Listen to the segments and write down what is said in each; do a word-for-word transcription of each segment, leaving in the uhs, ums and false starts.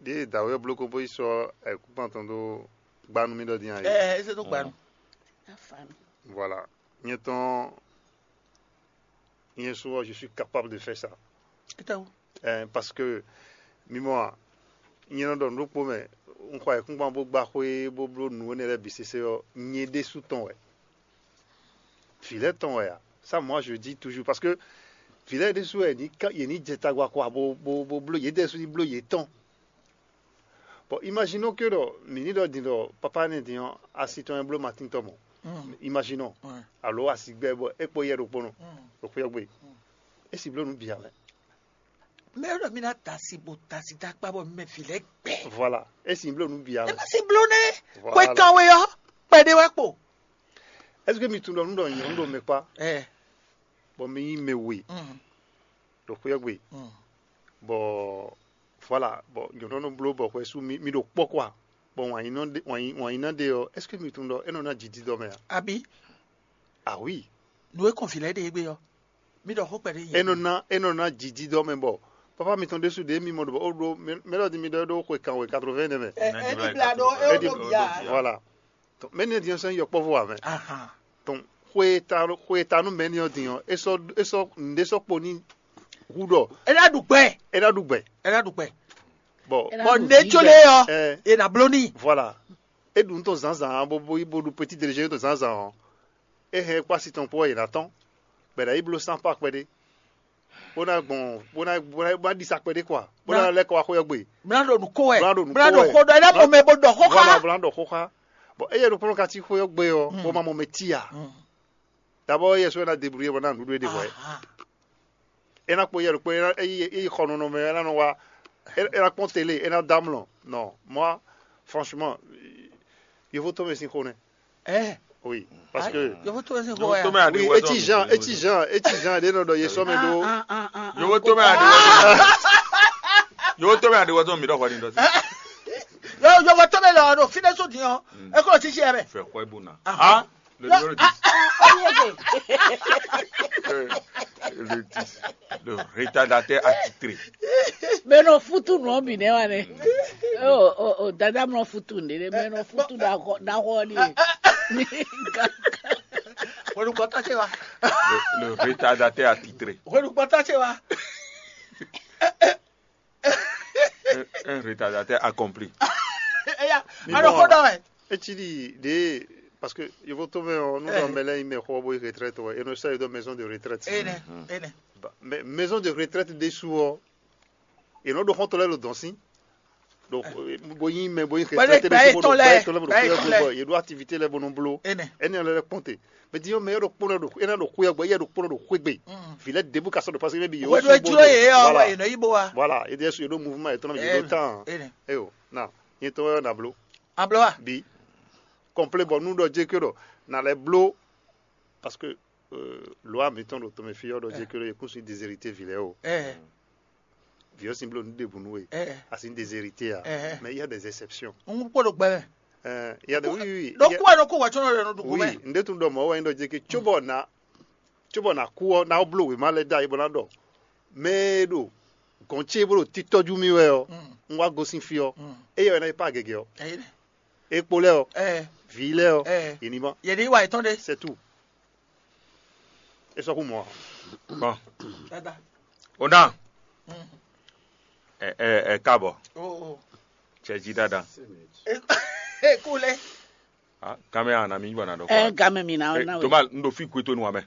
Ɖěe dǎwe ɔ́ bló kóbó yi sɔ́ ayǐkúngban tɔn dó gbá nú mì ɖɔ dín a é. Ɛ ɛ, é zé dó gbanu. Afanu. Voilà. Nyɛ tɔn, nyɛ su ɔ́, je suis capable de faire ça. Étɛwú. Ɛɛ, parce que mi mɔ a, nyɛ nɔ ɖɔ nǔ ɖokpó mɛ, un xɔ ayǐkúngban bó gbá xwé bó bló nǔ énɛ́ lɛ́ɛ bǐ sésé ɔ́, nyɛ ɖésú tɔn wɛ. Vǐ lɛ́ɛ tɔn wɛ a? Ça, moi, je dis toujours, parce que vǐ lɛ́ɛ ɖésú wɛ yě ní ká- yě ní jɛ tagba kɔ a, bó bó bó bló yě ɖésú ní bló yě tɔn. Bon, imaginons que ɖɔ mǐ ní ɖɔ din ɖɔ papa énɛ́ din ɔ́, asi tɔn e bló Matín tɔn mɔ. Imaginons. Alo asi gbɛ bɔ é kpo yɛ ɖokpónɔ ɖo xwé ɔ́ gbe. É si bló nǔ bǐ ǎ mɛ. Mɛ ɖɔ mi ná da asi bo da asi dó akpá bɔ mɛ vǐ lɛ́ɛ gbɛ. Voilà. É si bló nǔ bǐ ǎ Ɛ mɛ. má si bló nɛ́. Voilà. Xwe kan we ɔ́, kpɛɖé wɛ kpo. Est-ce que mi tunwun ɖɔ nǔ ɖɔ nyɔ̌nu ɖo mɛ kpá, Ɛ. bɔ mi nyí mɛ we ɖo xwé ɔ́ gbe, bɔ voilà, bɔ nyɔ̌nu nɔ bló bɔ xwɛ sú mi mi ɖo kpɔ́ kɔ a, bɔ wǎn yí nɔ ɖe wǎn yí wǎn yí ná ɖe ɔ́, est-ce que mi tunwun ɖɔ é nɔ ná jǐ dídɔ mɛ a? Abi, Ah oui. nǔ e kɔn vǐ lɛ́ɛ ɖe égbé ɔ́, mi ɖɔ xó kpɛɖé É nɔ ná é nɔ ná jǐ dídɔ mɛ bɔ papa mitɔn ɖésú ɖě mi mɔ ɖo bɔ ó ɖó mɛ ɖɔ di mi ɖɔ é ɖó xwe kan wɛ quatre-vingts nɛmɛ. Ɛ ɛ ní bla ɖó é É ɖi- ɖo bia. Voilà. Donc mɛ ní diɛ sɛn yɔ kpɔ́vɔ wɛ mɛ. Ahan. Donc xwe ta xwe ta nú mɛ ní ɔ́ din ɔ́, é sɔ é sɔ nǔɖé sɔ kpo ní hu ɖɔ É ná ɖu gbɛ. é ná ɖu gbɛ. É ná ɖu gbɛ. Bon. Bɔ nɛ̌ có lé ɔ́, Ɛ è nǎ bló n'i. Voilà. É ɖu nú tɔn zǎnzǎn bó bó bó ɖu petit déjeuner tɔn zǎnzǎn ɔ́, é hɛn kpá si tɔn kpó ɔ́ yě ná tɔn. Bɛ̌ ná yi bló sán pa kpɛɖé. Bó ná gbɔn bó ná bó ná bó ná ɖisa kpɛɖé kɔa. Bó ná lɛ́ kɔ wá xwé ɔ́ gbe. Mlá ɖo nǔ kó wɛ. Mlá ɖo nǔ Mlá kó ɖo wɛ. xó ɖɔ é ná mɔ mɛ bó ɖɔ xó Voilà, xá. Bó ná ɖɔ xó xá. Bon, eye ɖokpónɔ ka cí xwé ɔ́ gbe ɔ́, bó ma mɔ mɛ tí a. D'abord yɛ sɔ é ná débrouiller bɔ ná nǔɖuɖu é ɖe hwɛ. Ahan. É ná kpó yɛ ɖokpó é ná é yi é yi xɔ nɔnɔ mɛ é ná nɔ wá é é ná kpɔ́n télé é ná dá mlɔ. Non, moi franchement, yovo tɔn mɛ sín xó nɛ. Ɛ. Oui, parce que Yɔfɔ tó ɛsɛ Yɔfɔ xɔ tó ya. mɛ adi oui, wɛ etí Jean etí Jean etí Jean ɖé nɔ ɖɔ yé sɔ mɛ ɖó. Yɔfɔ tó mɛ adi wɛ tó. Yɔfɔ tó mɛ adi wɛ tó mi dɔ xɔ ni dɔ. Yɔfɔ tó mɛ lɔ ɖo fi ɖe so diɔ. Ekɔ ti si yɛ mɛ. Fɛ xɔ ibu na. Ah. Le numéro dix. Le dix. Le retardateur attitré. Mɛ nɔ futu nɔ bi nɛ wa nɛ. O o o dada mɔ futu nde de mɛ nɔ futu da xɔ da xɔ ni. Wɛnu kɔta se wa. Le, le retardateur attitré. Wɛnu kɔta se wa. Un, un retardateur accompli. Eya. Mi Ano bɔ- ko dɔ wɛ. Etí ɖi ɖe parce que yɔfɔ tó mɛ ɔ nu dɔ mɛ lɛ yi mɛ xɔ bo yi retraite wɛ enɔ sɛ yi dɔ maison de retraite. Ene ene. Ba- mais maison de retraite ɖe su ɔ enɔ ɖo xɔntɔ lɛ lo dɔn si. Donc bo yi mɛ bo yi Bɔ ne retraite gba ɖe ye su bo tɔn ɖo lɛ, gba ye tɔn lɛ bo ɖo gba ye xɔ tɔn yɛ lɛ. gbɔ ye ɖo activité lɛ bo nɔ blo. Ene. Ɛni lɛ lɛ kpɔnte. Mais di yɔ mɛ yɛ ɖo kpɔn ɖo yɛ ɖo kpɔn ɖo xwe gbe. Vi lɛ debu ka sɔ ɖo parce que bi yɛ Wɛ do ejlo ye yɔ wɛ ye nɔ yi bo wa. Voilà, ye de su ye ɖo mouvement ye tɔn ye ɖo tan. Ene. Eyo na ye tɔn yɔ na blo. Ablo wa. Bi complet bɔ nu ɖɔ jɛ ke ɖɔ na lɛ blo parce que euh, loi mitɔn ɖo tɔmɛ fi yɔ ɖɔ jɛ ke ɖɔ ye kun si déshérité vi lɛ o. Eh. Vi ɔ́ sin blo nu ɖe bunu we. Eh. A sin déshérité a. Eh. Mais il y a des exceptions. N kpɔ ɖo gbɛ. Euh, il y a des oui oui. Donc quoi no ko wa tsɔnɔ le no dugu Oui, mɛ. N ɖe tun ɖɔ mɔ wɛ n ɖɔ jɛ ke tso bɔ na tso bɔ na ku ɔ na blo we ma lɛ da yi bɔ na ɖɔ. Mais ɖo gɔn ce blo titɔju mi wɛ ɔ. N wa gosin fi ɔ. Eye wɛ na yi pa gɛgɛ ɔ. Ɛyin. Ekpo lɛ ɔ. Eh. Vi lɛ ɔ. Eh. Ini ma. Yɛ ni wa itɔn de. C'est tout. E sɔ ku mɔ. Bon, Dada. o na. Ɛ ɛ ɛ káàbọ̀. O o. Cɛ jí dáadáa. E ku lɛ. Ah, kámẹ́rà àná mi yíwà náà dọ́kọ̀. Ɛ game mi na Eh, na tó we. Bá ń do fí ìkúé tó nu wa mẹ́.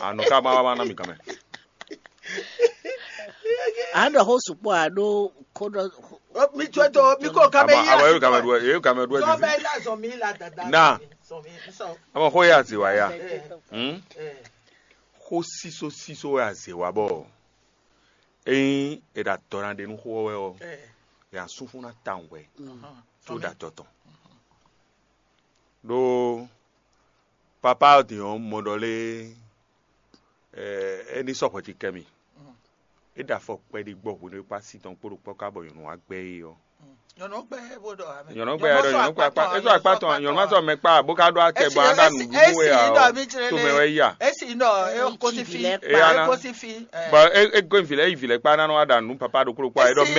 Àná ká máa wá ná mi kàn mẹ́. A ɖɔ xó sukpɔ a ɖo ko ɖɔ. Mi tsɔe to mi ko kame Àbọ̀ yi. àbọ̀ yóò kà mẹ́ du ẹ yóò kà mẹ́ du ẹ Zɔn ti. Bɛ la zɔn mi la dada. Na. Zɔn mi sɔn. Àmọ́ kó yà sí wa yà. Eh. Hmm? Eh. Xó sísó sísó wɛ àzè wa bɔ. Eyin e ɖa dɔ na ɖe nu xó wɛ ɔ. Eh. Yà sún fún ná ta wɛ. Ahan. Tó ɖa dɔ tɔn. Ɖó papa ɔ́ din ɔ́ mɔ ɖɔ lé ɛ é ní sɔxɔ ti kɛ mi. É ɖe afɔ kpɛɖi gbɔ hwenu e kpá si tɔn kpó ɖo kpɔ́ ká bɔ nyɔ̌nu wá gbɛ é ɔ́. Nyɔ̌nu gbɛ ɖɔ nyɔ̌nu gbɛ akpá é sɔ akpá tɔn nyɔ̌nu ma sɔ mɛ kpá bó ká ɖó akɛ bɔ aɖa nǔɖuɖu wɛ ɔ tó mɛ wɛ yí a. Esi nɔ e ko si fi. Eya na. E ko si fi. Bɔ é é gɔn vi lɛ yi vi lɛ kpá nanɔ aɖa nǔ papa ɖokpó ɖokpó a é ɖɔ mɛ